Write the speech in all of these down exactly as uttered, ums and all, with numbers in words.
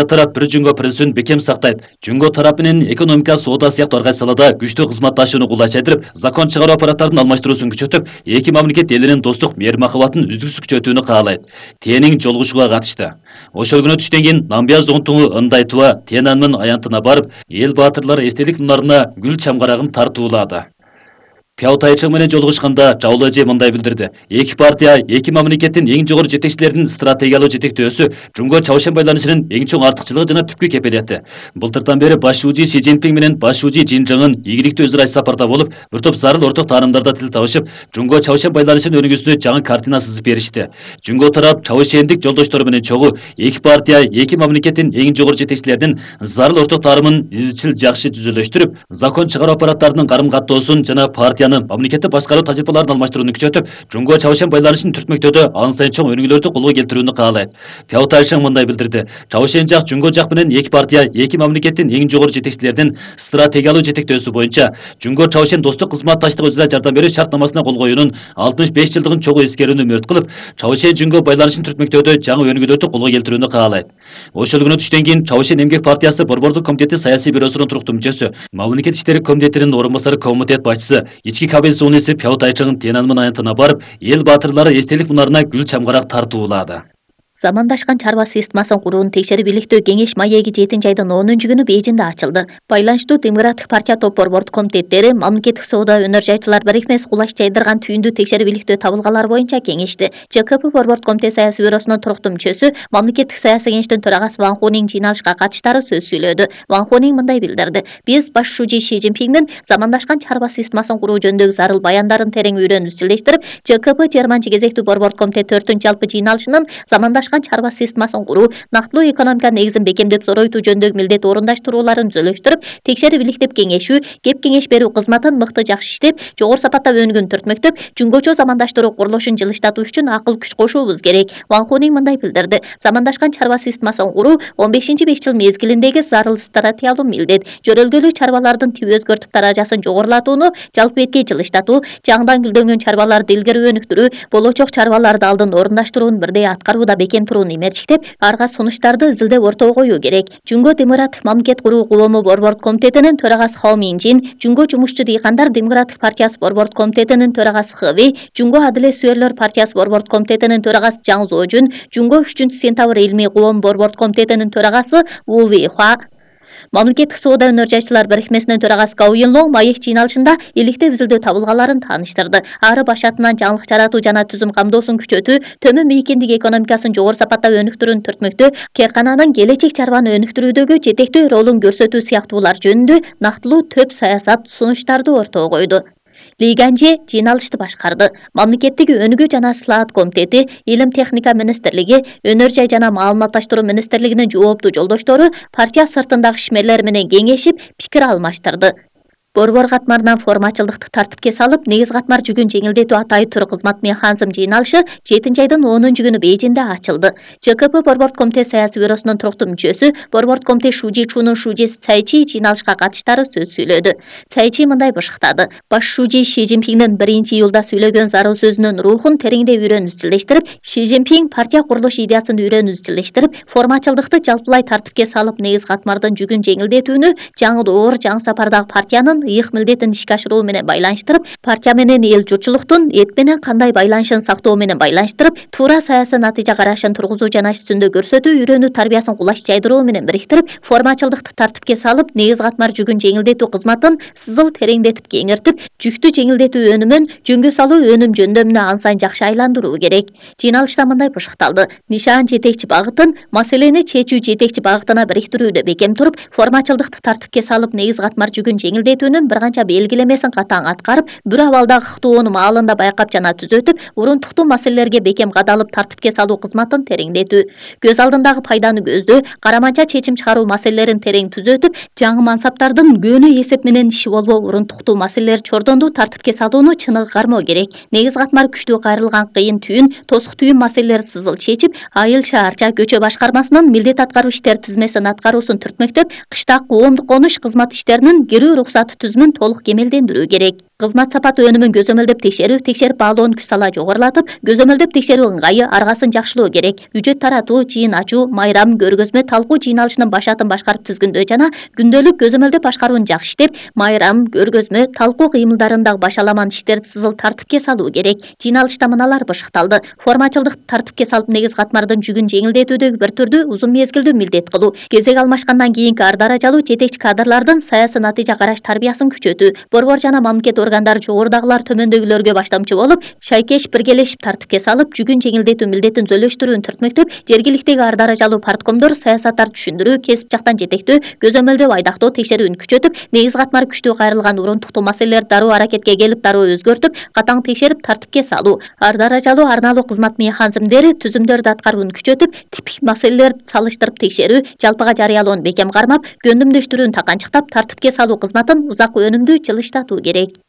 тарап бир жөнгө принцибин бекем сактайт. Жөнгө тарап менен экономика, соода сыяктуу ар кайсы салада күчтүү кызматташууну кулайчайдырып, закон чыгаруу аппараттарынын алмаштыруусун күчөтүп, эки мамлекет элинин достук мейир-максабатын үздүксүз күчөтүүнү каалайт. Тенин жолугушууга катышты. Ошол күнү түштөн кийин Намбия зонтугу Ындайтуба Тиянанмын аянтына барып, эл баатырлары эстелик мунарына гүл чамгарагын тартуулады. Пяу Тайчың менен жолугушканда Чаулы эже мындай билдирди. Эки партия, эки мамлекеттин эң жогору жетекчилеринин стратегиялык жетектөөсү Жумго Чавшен байланышынын эң чоң артыкчылыгы жана түпкү кепилети. Былтыртан бери баш шүүжи Си Цзиньпин менен баш шүүжи Жин Жыңын ийгиликтүү өз ара сапарда болуп, бир топ зарыл орток таанимдарда тил табышып, Жумго Чавшен байланышынын өнүгүүсүнө жаңы картина сызып беришти. Жумго тарап Чавшендик жолдоштору менен чогуу эки партия, эки мамлекеттин эң жогору жетекчилеринин зарыл орток таанимын изчил жакшы түзүлөштүрүп, закон чыгаруу аппараттарынын карым-каттоосун жана партия мамлекетти башкаруу тажрыйбаларын алмаштырууну күчөтүп, Жумго Чавшен байланышын түртмөктөөдө ан сайын чоң өнүгүүлөрдү колго келтирүүнү каалайт. Пяу Тайчың мындай билдирди. Чавшен жак Жумго жак менен эки партия, эки мамлекеттин эң жогору жетекчилеринин стратегиялык жетектөөсү боюнча Жумго Чавшен достук кызматташтык өзара жардам берүү шартнамасына кол коюунун алтымыш беш жылдыгын чогуу эскерүүнү мөрт кылып, Чавшен Жумго байланышын түртмөктөөдө жаңы өнүгүүлөрдү колго келтирүүнү каалайт. Ошол күнү түштөн кийин Чавшен эмгек партиясы борбордук комитети саясий бюросунун туруктуу мүчөсү, мамлекет иштери комитетинин орун басары комитет башчысы, ички кабинет Пяу Тайчың Тиянанмын аянтына барып, эл баатырлары эстелик мунарына гүл чамгарак тартуулады. Замандашкан чарба системасын курууну текшерип иликтөө кеңеш маеги жетинчи айдын онунчу күнү Бейжиңде ачылды. Байланыштуу Демократик партия топ борбордук комитеттери мамлекеттик соода өнөр жайчылар бирикмеси кулаш жайдырган түйүндү текшерип иликтөө табылгалар боюнча кеңешти. Ж К П борбордук комитет саясий бюросунун туруктуу мүчөсү, мамлекеттик саясий кеңештин төрагасы Ван Хунин жыйналышка катыштары сөз сүйлөдү. Ван Хунин мындай билдирди. Биз баш шүүжи Си Цзиньпиндин замандашкан чарба системасын куруу жөнүндөгү зарыл баяндарын терең үйрөнүп изчилдештирип, Ж К П жыйырманчы кезектүү борбордук комитет төртүнчү жалпы жыйналышынын замандашкан чарба системасын куруу, нактылуу экономика негизин бекемдеп зоройтуу жөнүндөгү милдет орундаштырууларын түзөлүштүрүп, текшерип иликтеп кеңешүү, кеп кеңеш берүү кызматын мыкты жакшы иштеп, жогору сапатта өнүгүүнү түртмөктөп, жөнгөчө замандаштыруу курулушун жылыштатуу үчүн акыл күч кошуубуз керек. Ван Хунин мындай билдирди. Замандашкан чарба системасын куруу он бешинчи беш жыл мезгилиндеги зарыл стратегиялуу милдет. Жөрөлгөлүү чарбалардын тип өзгөртүп даражасын жогорулатууну жалпы бетке жылыштатуу, жаңыдан гүлдөнгөн чарбаларды илгери өнүктүрүү, болочок чарбаларды алдын орундаштырууну бирдей аткарууда бекем турууну эмерчиктеп, арга сунуштарды изилдеп ортого коюу керек. Жөнгө Демократик мамлекет куруу коому борбордук комитетинин төрагасы Хао Минжин, Жөнгө жумушчу дыйкандар Демократик партиясы борбордук комитетинин төрагасы Хэви, Жөнгө Адилет сүйөрлөр партиясы борбордук комитетинин төрагасы Жаң Зожун, Жөнгө үчүнчү сентябрь илмий коом борбордук комитетинин төрагасы Ву Вейхуа, мамлекеттик соода өнөр жайчылар бирикмесинин төрагасы Гау Йинлоң маек жыйналышында иликтеп изилдөө табылгаларын тааныштырды. Ары башатынан жаңылык жаратуу жана түзүм камдоосун күчөтүү, төмөн мейкиндик экономикасын жогору сапатта өнүктүрүүнү түртмөктөө, керкананын келечек чарбаны өнүктүрүүдөгү жетектөө ролун көрсөтүү сыяктуулар жөнүндө нактылуу төп саясат сунуштарды ортого койду. Ли Ганже жыйналышты башкарды. Мамлекеттик өнүгүү жана сылаат комитети, Илим техника министрлиги, Өнөр жай жана маалыматташтыруу министрлигинин жооптуу жолдоштору партия сыртындагы ишмерлер менен кеңешип, пикир алмаштырды. Борбор катмарынан формачылдыкты тартипке салып, негиз катмар жүгүн жеңилдетүү атайы тур кызмат механизм жыйналышы жетинчи айдын онунчу күнү Бейжиңде ачылды. Ж К П борбордук комитет саясий бюросунун туруктуу мүчөсү, борбордук комитет шүүжи Чунун шүүжеси Цайчи жыйналышка катыштары сөз сүйлөдү. Цайчи мындай бышыктады. Баш шүүжи Си Цзиньпиндин биринчи июлда сүйлөгөн зарыл сөзүнүн рухун тереңдей үйрөнүп изчилдештирип, Си Цзиньпин партия курулуш идеясын үйрөнүп изчилдештирип, формачылдыкты жалпылай тартипке салып, негиз катмардын жүгүн жеңилдетүүнү жаңы доор, жаңы сапардагы партиянын ыйык милдетин ишке ашыруу менен байланыштырып, партия менен эл журтчулуктун эт менен кандай байланышын сактоо менен байланыштырып, туура саясий натыйжа карашын тургузуу жана иш жүзүндө көрсөтүү үйрөнүү тарбиясын кулаш жайдыруу менен бириктирип, формачылдыкты тартипке салып, негиз катмар жүгүн жеңилдетүү кызматын сызыл тереңдетип кеңиртип, жүктү жеңилдетүү өнүмүн жөнгө салуу өнүм жөндөмүнө ан сайын жакшы айландыруу керек. Жыйналышта мындай бышыкталды. Нишан жетекчи багытын, маселени чечүү жетекчи багытына бириктирүүдө бекем туруп, формачылдыкты тартипке салып, негиз катмар жүгүн жеңилдетүүнүн бир канча белгилемесин катаң аткарып, бир абалдагы ыктоону маалында байкап жана түзөтүп, урунтуктуу маселелерге бекем кадалып тартипке салуу кызматын тереңдетүү, көз алдындагы пайданы көздөө, караманча чечим чыгаруу маселелерин терең түзөтүп, жаңы мансаптардын көөнү эсеп менен иши болбоо урунтуктуу маселелер чордондуу тартипке салууну чыныгы кармоо керек. Негиз катмар күчтүү кайрылган кыйын түйүн, тосук түйүн маселелери сызыл чечип, айыл шаарча көчө башкармасынын милдет аткаруу иштер тизмесин аткаруусун түртмөктөп, кыштак коомдук конуш кызмат иштеринин кирүү уруксаты түзүмүн толук кемелдендирүү керек. Кызмат сапаты өнүмүн көзөмөлдөп текшерүү, текшерип баалоонун күч сала жогорулатып, көзөмөлдөп текшерүү ыңгайы аргасын жакшылоо керек. Бюджет таратуу, жыйын ачуу, майрам, көргөзмө, талкуу жыйналышынын башатын башкарып тизгиндөө жана күндөлүк көзөмөлдөп башкарууну жакшы иштеп, майрам, көргөзмө, талкуу кыймылдарындагы башаламан иштерди сызыл тартипке салуу керек. Жыйналышта мыналар бышыкталды: формачылдык тартипке салып негиз катмардын жүгүн жеңилдетүүдөгү бир түрдүү узун мезгилдүү милдет кылуу, кезек алмашкандан кийинки ар даражалуу жетекчи кадрлардын саясий натыйжа караш тарбиясын күчөтүү, борбор жана мамлекет органдары жогорудагылар төмөндөгүлөргө баштамчы болуп, шайкеш биргелешип тартипке салып, жүгүн жеңилдетүү милдетин зөөлөштүрүүнү түртмөктөп, жергиликтеги ар даражалуу парткомдор саясаттарды түшүндүрүү, кесип жактан жетектөө, көзөмөлдөө, айдактоо, текшерүүнү күчөтүп, негиз катмары күчтүү кайрылган урунтуктуу маселелерди дароо аракетке келип, дароо өзгөртүп, катаң текшерип тартипке салуу, ар даражалуу арналуу кызмат механизмдери, түзүмдөрдү аткарууну күчөтүп, типтик маселелерди салыштырып текшерүү, жалпыга жарыялоону бекем кармап, көндүмдөштүрүүнү таканчыктап, тартипке салуу кызматын узак өнүмдүү жылыштатуу керек.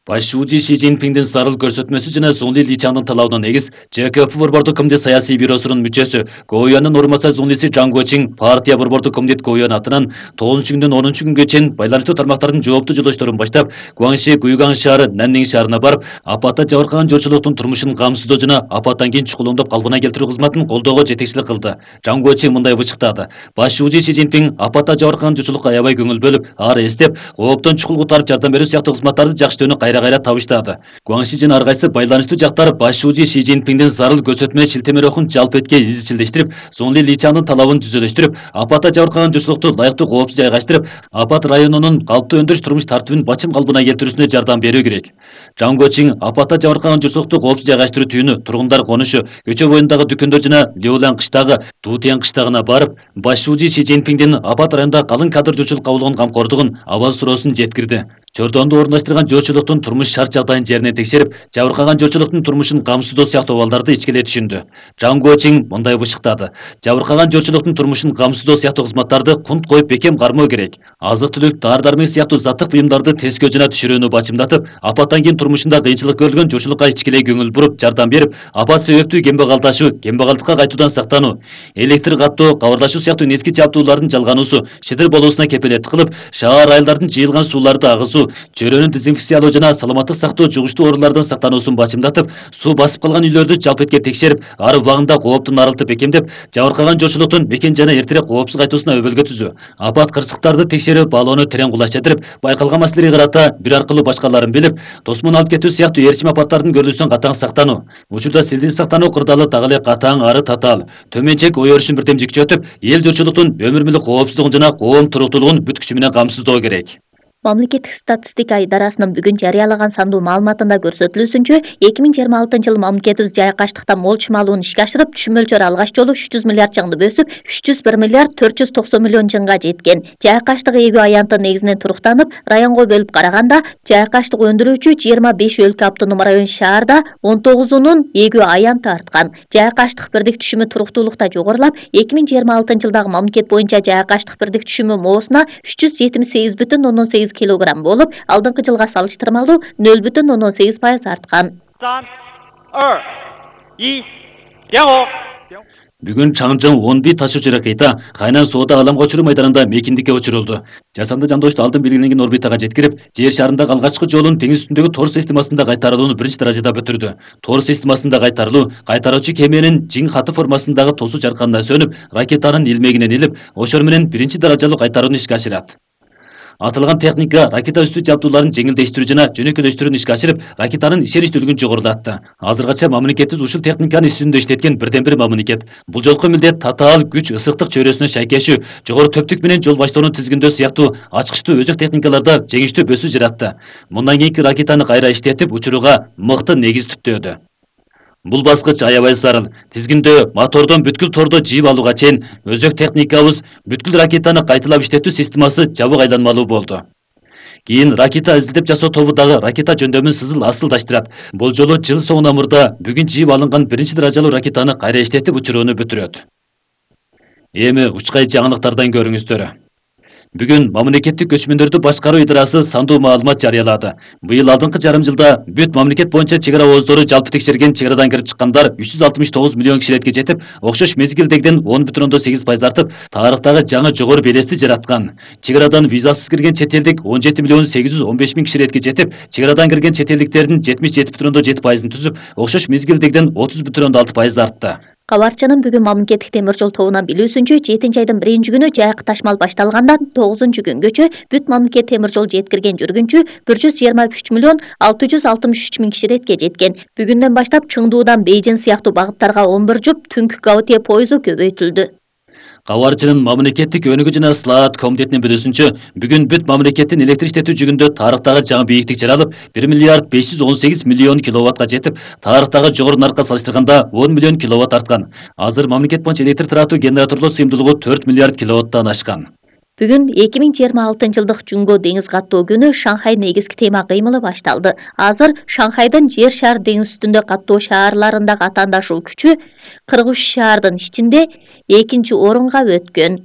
Баш шууji Ши Цзиньпиңдин зарыл көрсөтмөсү жана Зуңли Личаңдын талабына негиз ЖКП борбордук комитет саясий бюросунун мүчөсү Гоуянын орун басары Зуңлиси Жан Гочиң партия борбордук комитет Гоуян атынан тогузунчу күндөн онунчу күнгө чейин байланыштуу тармактардын жооптуу жолдошторун баштап Гуаңши, Гуйгаң шаары, Наннин шаарына барып, апатта жабыркаган журтчулуктун турмушун камсыздоо жана апаттан кийин чукулундап калпына келтирүү кызматын колдоого жетекчилик кылды. Жан Гочиң мындай бычыктады: Баш шууji Ши Цзиньпиң апатта жабыркаган журтчулукка аябай көңүл бөлүп, ары эстеп, кооптон чукул кутарып жардам берүү сыяктуу кызматтарды жакшы кайра кайра табыштады. Гуаңши жана ар кайсы байланыштуу жактар Баш шууji Ши Цзиньпиңдин зарыл көрсөтмө шилтемелөөгүн жалпы этке изчилдештирип, Зуңли Личаңдын талабын түзөлөштүрүп, апатта жабыркаган журтчулукту ылайыктуу коопсуз жайгаштырып, апат районунун калыптуу өндүрүш турмуш тартибин бачым калыбына келтирүүсүнө жардам берүү керек. Жан Гочиң апатта жабыркаган журтчулукту коопсуз жайгаштыруу түйүнү, тургундар конушу, көчө боюндагы дүкөндөр жана Леолан кыштагы, Дутиан кыштагына барып, Баш шууji Ши Цзиньпиңдин апат районунда калың кадр журтчулук кабылган камкордугун, абал суроосун жеткирди. Чордонду орундаштырган журтчулуктун турмуш шарт жагдайын жеринен текшерип, жабыркаган журтчулуктун турмушун камсыздоо сыяктуу абалдарды ичкилей түшүндү. Жан Гочиң мындай бышыктады: жабыркаган журтчулуктун турмушун камсыздоо сыяктуу кызматтарды кунт коюп бекем кармоо керек. Азык-түлүк, дары-дармек сыяктуу заттык буюмдарды тескөө жана түшүрүүнү бачымдатып, апаттан кийин турмушунда кыйынчылык көрүлгөн журтчулукка ичкилей көңүл буруп, жардам берип, апат себептүү кембагалдашуу, кембагалдыкка кайтуудан сактануу, электр каттоо, кабарлашуу сыяктуу незги жабдуулардын жалгануусу, шидир болуусуна кепилеттик кылып, шаар айылдардын жыйылган сууларды агызуу, чөйрөнү дезинфекциялоо жана саламаттык сактоо жугуштуу оорулардан сактануусун бачымдатып, суу басып калган үйлөрдү жалпы этке текшерип, ар убагында кооптун аралты бекемдеп, жабыркаган журтчулуктун бекен жана эртерээк коопсуз кайтуусуна өбөлгө түзүү, апат кырсыктарды текшерип, баалоону терең кулачтырып, байкалган маселеге карата бир аркылуу башкаларын билип, тосмон алып кетүү сыяктуу ээрчим апаттардын көрүлүүсүнөн катаң сактануу. Учурда силдин сактануу кырдаалы так эле катаң, ары татаал. Төмөнчек ой өрүшүн бирдемжи күчөтүп, эл журтчулуктун өмүр мүлүк коопсуздугун жана коом туруктуулугун бүт күчү менен камсыздоо керек. Мамлекеттик статистика идарасынын бүгүн жарыялаган сандуу маалыматында көрсөтүлүүсүнчө, эки миң жыйырма алтынчы жылы мамлекетибиз жайкаштыкта мол чымалууну ишке ашырып, түшүм мөлчөрү алгач жолу үч жүз миллиард жыңды өсүп, үч жүз бир миллиард төрт жүз токсон миллион жыңга жеткен. Жайкаштык эгүү аянтын негизинен туруктанып, районго бөлүп караганда, жайкаштык өндүрүүчү жыйырма беш өлкө автоном район шаарда он тогузунун эгүү аянты арткан. Жайкаштык бирдик түшүмү туруктуулукта жогорулап, эки миң жыйырма алтынчы жылдагы мамлекет боюнча жайкаштык бирдик түшүмү моосуна үч жүз жетимиш сегиз бүтүн ондон сегиз килограмм болуп, алдыңкы жылга салыштырмалуу нөл бүтүн ондон сегиз пайыз арткан. Бүгүн Чаңжың Онби ташуучу ракета Кайнан соода аламга учуруу майданында мейкиндикке учурулду. Жасанды жандошту алдын белгиленген орбитага жеткирип, жер шарындагы алгачкы жолун теңиз үстүндөгү тор системасында кайтарылууну биринчи даражада бүтүрдү. Тор системасында кайтарылуу кайтаруучу кеменин жиң каты формасындагы тосуу жарканына сөнүп, ракетанын илмегинен илип, ошор менен биринчи даражалуу кайтарууну ишке ашырат. Аталган техника ракета үстү жабдууларын жеңилдештирүү жана жөнөкөйлөштүрүүнү ишке ашырып, ракетанын ишеништүүлүгүн жогорулатты. Азыркача мамлекетибиз ушул техниканы иш жүзүндө иштеткен бирден бир мамлекет. Бул жолку милдет татаал күч ысыктык чөйрөсүнө шайкешүү, жогору төптүк менен жол баштоону тизгиндөө сыяктуу ачкычтуу өзөк техникаларда жеңиштүү бөсүү жаратты. Мындан кийинки ракетаны кайра иштетип, учурууга мыкты негиз түптөөдү. Бул баскыч аябай зарыл. Тизгиндөө, мотордон бүткүл тордо жийип алууга чейин өзөк техникабыз бүткүл ракетаны кайталап иштетүү системасы жабык айланмалуу болду. Кийин ракета изилдеп жасоо тобу дагы ракета жөндөмүн сызыл асылдаштырат. Бул жолу жыл соңуна мурда бүгүн жийип алынган биринчи даражалуу ракетаны кайра иштетип учурууну бүтүрөт. Эми учкай жаңылыктардан көрүңүздөр. Бүгүн мамлекеттик көчмөндөрдү башкаруу идарасы сандуу маалымат жарыялады. Быйыл алдыңкы жарым жылда бүт мамлекет боюнча чек ара ооздору жалпы текшерген чек арадан кирип чыккандар үч жүз алтымыш тогуз миллион киширетке жетип, окшош мезгилдегиден он бүтүн ондон сегиз пайыз артып, тарыхтагы жаңы жогору белести жараткан. Чек арадан визасыз кирген чет элдик он жети миллион сегиз жүз он беш миң киширетке жетип, чек арадан кирген чет элдиктердин жетимиш жети бүтүн ондон жети пайызын түзүп, окшош мезгилдегиден отуз бүтүн ондон алты пайыз артты. Кабарчынын бүгүн мамлекеттик темир жол тобунан билүүсүнчө, жетинчи айдын биринчи күнү жайкы ташмал башталгандан тогузунчу күнгөчө бүт мамлекет темир жол жеткирген жүргүнчү бир жүз жыйырма үч миллион алты жүз алтымыш үч миң киширетке жеткен. Бүгүндөн баштап Чыңдуудан Бейжин сыяктуу багыттарга он бир жуп түнкү Гаутие пойызу көбөйтүлдү. Кабарчынын мамлекеттик өнүгүү жана слаат комитетинин билүүсүнчө, бүгүн бүт мамлекеттин электр иштетүү жүгүндө тарыхтагы жаңы бийиктик жаралып, бир миллиард беш жүз он сегиз миллион киловаттка жетип, тарыхтагы жогору наркка салыштырганда он миллион киловатт арткан. Азыр мамлекет боюнча электр таратуу генераторлор сыйымдуулугу төрт миллиард киловаттан ашкан. Бүгүн эки миң жыйырма алтынчы жылдык Жунго деңиз каттоо күнү Шанхай негизги тема кыймылы башталды. Азыр Шанхайдын жер шар деңиз үстүндө каттоо шаарларындагы атаандашуу күчү кырк үч шаардын ичинде экинчи орунга өткөн.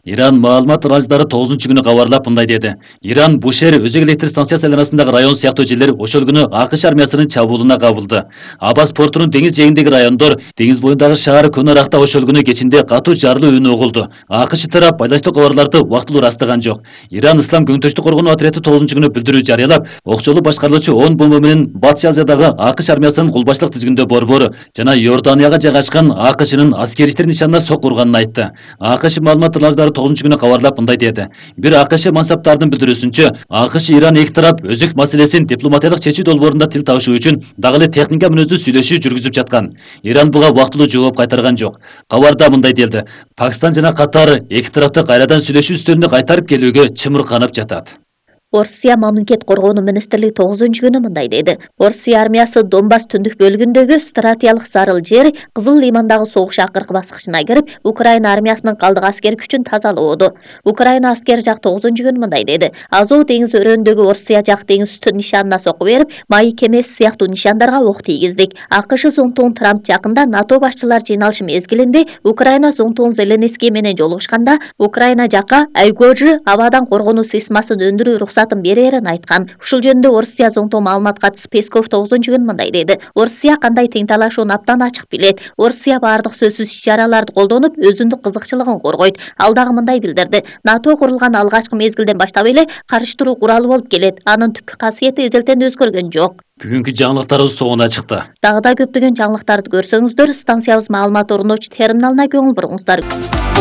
Иран маалымат арналжылары тогузунчу күнү кабарлап мындай деди. Иран Бушер өзөк электр станциясы айланасындагы район сыяктуу жерлер ошол күнү АКШ армиясынын чабуулуна кабылды. Абас портунун деңиз жээгиндеги райондор, деңиз боюндагы шаар Көнаракта ошол күнү кечинде катуу жарылуу үнү угулду. АКШ тарап байланыштуу кабарларды убактылуу ырастаган жок. Иран Ислам көңтөштүк коргонуу отряды тогузунчу күнү билдирүү жарыялап, окчолуу башкарылуучу он бомба менен Батыш Азиядагы АКШ армиясынын кулбаштык тизгиндөө борбору жана Иорданияга жайгашкан АКШнын аскери иштер нишанына сок урганын айтты. АКШ маалымат арналжылары тогузунчу күнү кабарлап мындай деди. Бир АКШ мансаптарынын билдирүүсүнчө, АКШ Иран эки тарап өзөк маселесин дипломатиялык чечүү долбоорунда тил табышуу үчүн дагы эле техника мүнөздүү сүйлөшүү жүргүзүп жаткан. Иран буга убактылуу жооп кайтарган жок. Кабарда мындай делди. Пакистан жана Катар эки тарапты кайрадан сүйлөшүү үстөлүнө кайтарып келүүгө чымырканып жатат. Орусия мамлекет коргоонуу министрлиги тогузунчу күнү мындай деди. Орусия армиясы Донбасс түндүк бөлүгүндөгү стратегиялык зарыл жер Кызыл лимандагы согуш акыркы баскычына кирип, Украина армиясынын калдык аскер күчүн тазалоодо. Украина аскер жак тогузунчу күнү мындай деди. Азов деңизи өрөөнүндөгү Орусия жак деңиз үстү нишанына соку берип, майы кемеси сыяктуу нишандарга ок тийгиздик. АКШ зонтугун Трамп жакында НАТО башчылар жыйналышы мезгилинде Украина зонтугун Зеленский менен жолугушканда, Украина жакка Айгожи абадан коргонуу системасын өндүрүү уруксаты берерин айткан. Ушул жөнүндө Орусия зонтоо маалымат катчысы Песков тогузунчу күнү мындай деди. Орусия кандай тең талашууну абдан ачык билет. Орусия баардык сөзсүз иш-чараларды колдонуп, өзүндүк кызыкчылыгын коргойт. Ал дагы мындай билдирди. НАТО курулган алгачкы мезгилден баштап эле карыштыруу куралы болуп келет. Анын түпкү касиети эзелтен өзгөргөн жок. Бүгүнкү жаңылыктарыбыз соңуна чыкты. Дагы да көптөгөн жаңылыктарды көрсөңүздөр, станциябыз маалымат орунdoочу терминалына көңүл буруңуздар.